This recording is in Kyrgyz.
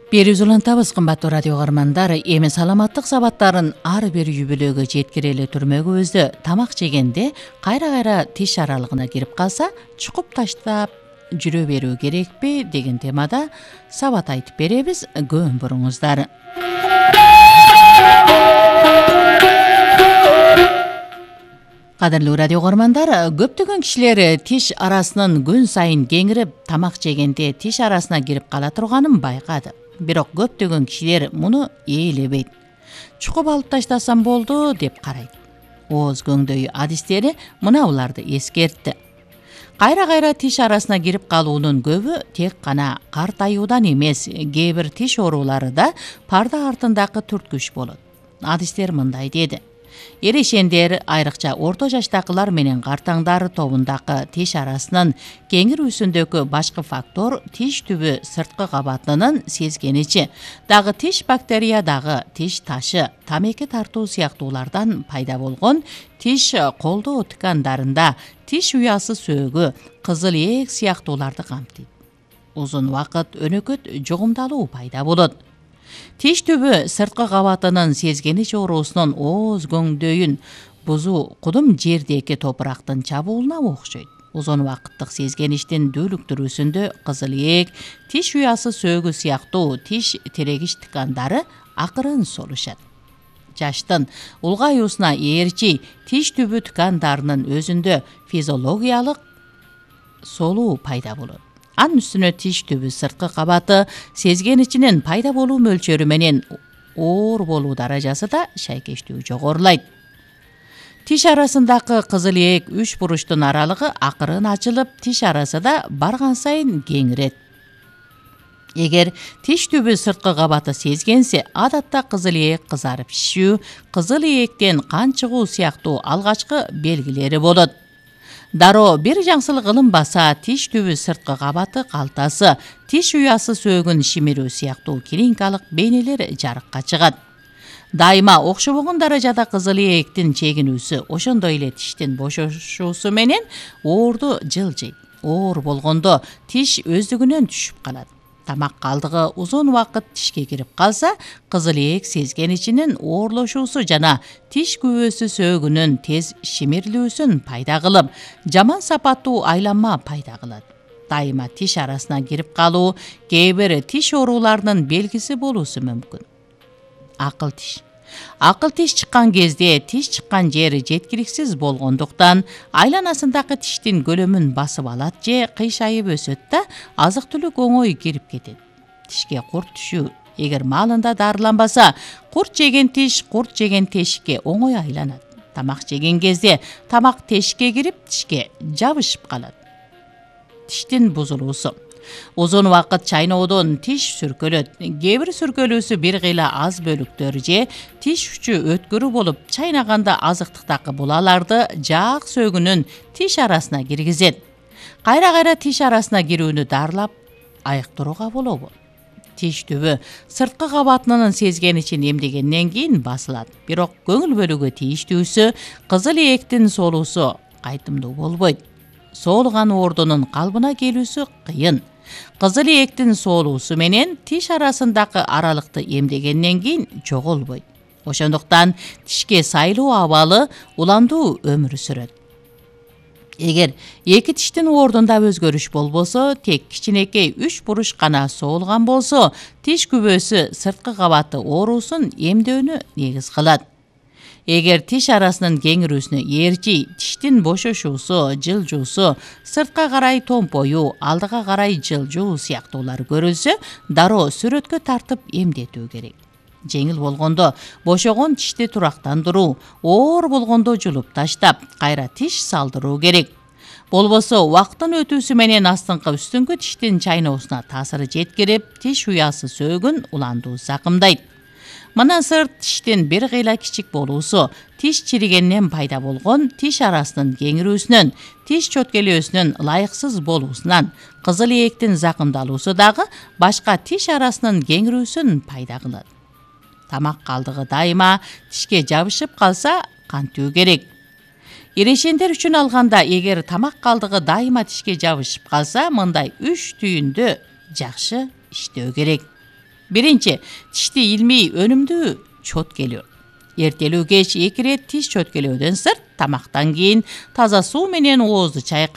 Берүүз улантабыз кымбаттуу радио каармандар. Эми саламаттык сабаттарын ар бир үй-бүлөгө жеткире эле түрмөгүбүздө тамак жегенде кайра-кайра тиш аралыгына кирип калса, чукуп таштап жүрө берүү керекпи деген темада сабат айтып беребиз. Көң буруңуздар. Кадырлуу радио каармандар, көптөгөн кишилер тиш арасынын күн сайын кеңирип тамак жегенде тиш арасына кирип кала турганын байкады. Бирок көптөгөн кишилер муну ээлебейт. Чукуп алып таштасам болду деп карайт. Ооз көңдөй адистери мына буларды эскертти. Кайра-кайра тиш арасына кирип калуунун көбү тек гана картаюудан эмес, кээ бир тиш оорулары да парда артындагы түрткүч болот. Адистер мындай деди: эрешендер, айрыкча орто жаштагылар менен картаңдар тобундагы тиш арасынын кеңирүүсүндөгү башкы фактор тиш түбү сырткы кабатынын сезгеничи, дагы тиш бактерия, дагы тиш ташы, тамеки тартуу сыяктуулардан пайда болгон тиш колдоо ткандарында тиш уясы сөөгү, кызыл ээк сыяктууларды камтыйт. Узун убакыт өнөкөт жугумдалуу пайда болот. Тиш түбү сырткы кабатынын сезгенич оорусунун ооз көңдөйүн бузуу кудум жердеги топурактын чабуулуна окшойт. Узун убакыттык сезгеништин дүүлүктүрүүсүндө кызыл ээк, тиш уясы сөөгү сыяктуу тиш тирегич ткандары акырын солушат. Жаштын улгаюусуна ээрчи тиш түбү ткандарынын өзүндө физиологиялык солуу пайда болот. Анын үстүнө тиш түбү сырткы кабаты сезгеничинин пайда болуу мөлчөрү менен оор болуу даражасы да шайкештүү жогорулайт. Тиш арасындагы кызыл ээк үч буруштун аралыгы акырын ачылып, тиш арасы да барган сайын кеңирет. Эгер тиш түбү сырткы кабаты сезгенсе, адатта кызыл ээк кызарып шишүү, кызыл ээктен кан чыгуу сыяктуу алгачкы белгилери болот. Дароо бир жаңсылык кылынбаса, тиш түбү сырткы кабаты калтасы, тиш уясы сөөгүн шимирүү сыяктуу клиникалык бейнелер жарыкка чыгат. Дайыма окшобогон даражада кызыл ээктин чегинүүсү, ошондой эле тиштин бошошуусу менен оорду жылжыйт. Оор болгондо тиш өздүгүнөн түшүп калат. Тамак калдыгы узун убакыт тишке кирип калса, кызыл ээк сезгеничинин оорлошуусу жана тиш күбөсү сөөгүнүн тез шимирилүүсүн пайда кылып, жаман сапаттуу айланма пайда кылат. Дайыма тиш арасына кирип калуу кээ бир тиш ооруларынын белгиси болуусу мүмкүн. Акыл тиш. Акыл тиш чыккан кезде тиш чыккан жери жеткиликсиз болгондуктан айланасындагы тиштин көлөмүн басып алат же кыйшайып өсөт да, азык-түлүк оңой кирип кетет. Тишке курт түшүү. Эгер маалында дарыланбаса, курт жеген тиш курт жеген тешикке оңой айланат. Тамак жеген кезде тамак тешикке кирип, тишке жабышып калат. Тиштин бузулуусу. Узун убакыт чайноодон тиш сүркөлөт. Кээ бир сүркөлүүсү бир кыйла аз бөлүктөр же тиш учу өткөрүү болуп, чайнаганда азыктыктагы булаларды жаак сөөгүнүн тиш арасына киргизет. Кайра-кайра тиш арасына кирүүнү дарылап айыктырууга болобу? Тиш түбү сырткы кабатынын сезгеничин эмдегенден кийин басылат. Бирок көңүл бөлүүгө тийиштүүсү, кызыл ээктин соолуусу кайтымдуу болбойт. Соолуган оордунун калыбына келүүсү кыйын. Кызыл ээктин соолуусу менен тиш арасындагы аралыкты эмдегенден кийин жоголбойт. Ошондуктан тишке сайлуу абалы уламдуу өмүр сүрөт. Эгер эки тиштин оордунда өзгөрүш болбосо, тек кичинекей үч буруш гана соолган болсо, тиш күбөсү сырткы кабаты оорусун эмдөөнү негиз кылат. Эгер тиш арасынын кеңирүүсүнө ээрчи тиштин бошошуусу, жылжуусу, сыртка карай томпоюу, алдыга карай жылжуу сыяктуулар көрүлсө, дароо сүрөткө тартып эмдетүү керек. Жеңил болгондо бошогон тишти турактандыруу, оор болгондо жулуп таштап, кайра тиш салдыруу керек. Болбосо убакыттын өтүүсү менен астыңкы үстүңкү тиштин чайноосуна таасыры жеткирип, тиш уясы сөөгүн уламдуу закымдайт. Мындан сырт тиштин бир кыйла кичик болуусу, тиш чиригеннен пайда болгон тиш арасынын кеңирүүсүнөн, тиш чөткөлөөсүнүн ылайыксыз болуусунан, кызыл ээктин закымдалуусу дагы башка тиш арасынын кеңирүүсүн пайда кылат. Тамак калдыгы дайыма тишке жабышып калса, кантуу керек. Эрешендер үчүн алганда, эгер тамак калдыгы дайыма тишке жабышып калса, мындай 3 түйүндө жакшы иштөө керек. Биринчи, тишти илмий өнүмдүү чөткөлөө. Эртелүү кеч 2 ирет тиш чөткөлөөдөн сырт тамактан кийин таза суу менен оозду чайкап